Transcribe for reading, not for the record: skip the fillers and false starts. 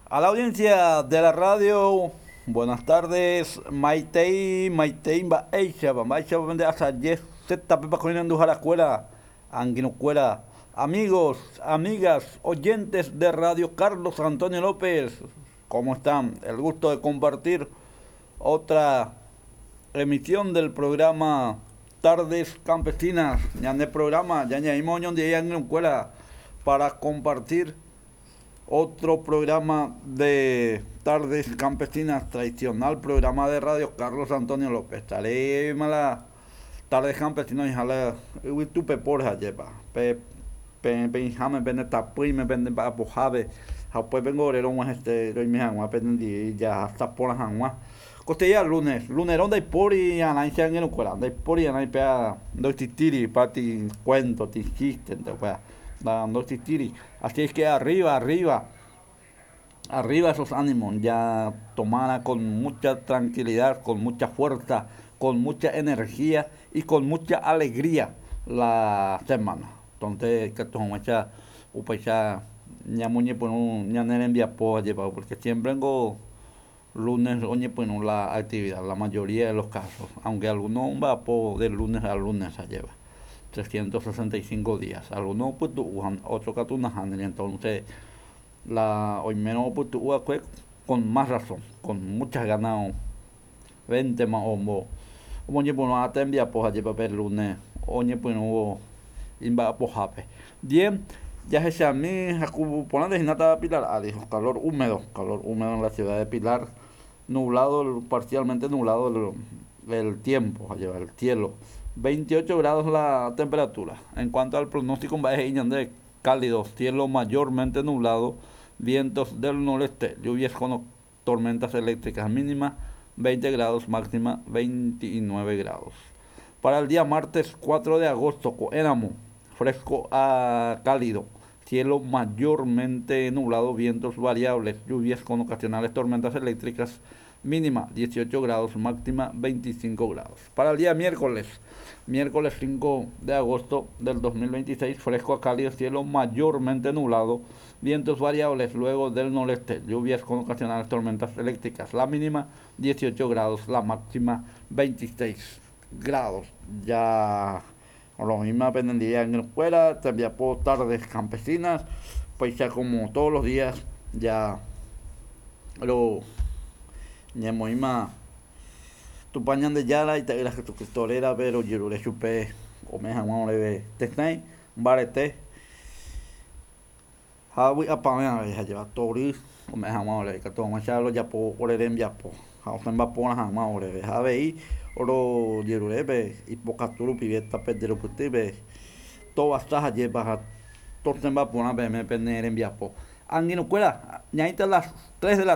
A la audiencia de la radio, buenas tardes. Maitei, Maitei, mba'éichapa, mba'éichapa pende asaje zeta-pe kuéra, angirũkuéra, amigos, amigas, oyentes de Radio Carlos Antonio López, ¿cómo están? El gusto de compartir otra emisión del programa Tardes Campesinas. Ñane programa, ya añadimos angirũkuéra para compartir otro programa de Tardes Campesinas, tradicional programa de Radio Carlos Antonio López. Estaré la Tardes Campesinas y jala yvytúpe porja jepa. Pe pe pe pende tapýime pende mba'apohápe ha upépe ore rog̃uahẽse roime hag̃ua penendive jahasa porã hag̃ua. Kosteya lunes, lunerõ ndaipóri arãicha angirũkuéra, ndaipóri arãi péa ndoexistíri pati cuento, ti chiste, upéva ndoexistíri. Así es que arriba, arriba, arriba esos ánimos, ya tomara con mucha tranquilidad, con mucha fuerza, con mucha energía y con mucha alegría la semana. Entonces, que hag̃uáicha upéicha ñamoñepyrũ ñane rembiapo jepa, porque siempre vengo lunes oñepyrũ la actividad, la mayoría de los casos, aunque algunos mba'apo de lunes a lunes se lleva, 365 días, algunos pytu'u, otros katu nahániri, entonces la oimérõ opytu'u con más razón, con muchas ganas véntema ombo omoñepyrũ tembiapo jepa pe lunes oñepyrũvo imba'apohápe. Bien, jahechami haku porãnte hína Pilar ári, calor húmedo en la ciudad de Pilar, nublado, parcialmente nublado el tiempo, lleva el cielo. 28 grados la temperatura. En cuanto al pronóstico, mba'e he'i ñande cálido, cielo mayormente nublado, vientos del noreste, lluvias con tormentas eléctricas mínimas 20 grados, máxima 29 grados. Para el día martes 4 de agosto, éramos fresco a cálido, cielo mayormente nublado, vientos variables, lluvias con ocasionales tormentas eléctricas, mínima 18 grados, máxima 25 grados. Para el día miércoles, miércoles 5 de agosto del 2026, fresco a cálido, cielo mayormente nublado, vientos variables luego del noreste, lluvias con ocasionales tormentas eléctricas, la mínima 18 grados, la máxima 26 grados. Ya lo mismo día en la escuela, también por tardes campesinas, pues ya como todos los días, ya lo ñamoĩma Tupã Ñandejára ita'ýra Jesucristo rérape rojerure chupe ome'ẽ hag̃ua oréve tesãi mbarete ha vy'apavẽ avei jajeva tory ome'ẽ hag̃ua oréve ikatu hag̃uáicha rojapo ore rembiapo ha osẽmba porã hag̃ua oréve ha avei rojerurépe ipokatu rupive tapejerupytýpe tovasa hajépa ha tosẽmba porã peẽme pene rembiapo. Angirũkuéra ñaĩta las 3 de la tarde.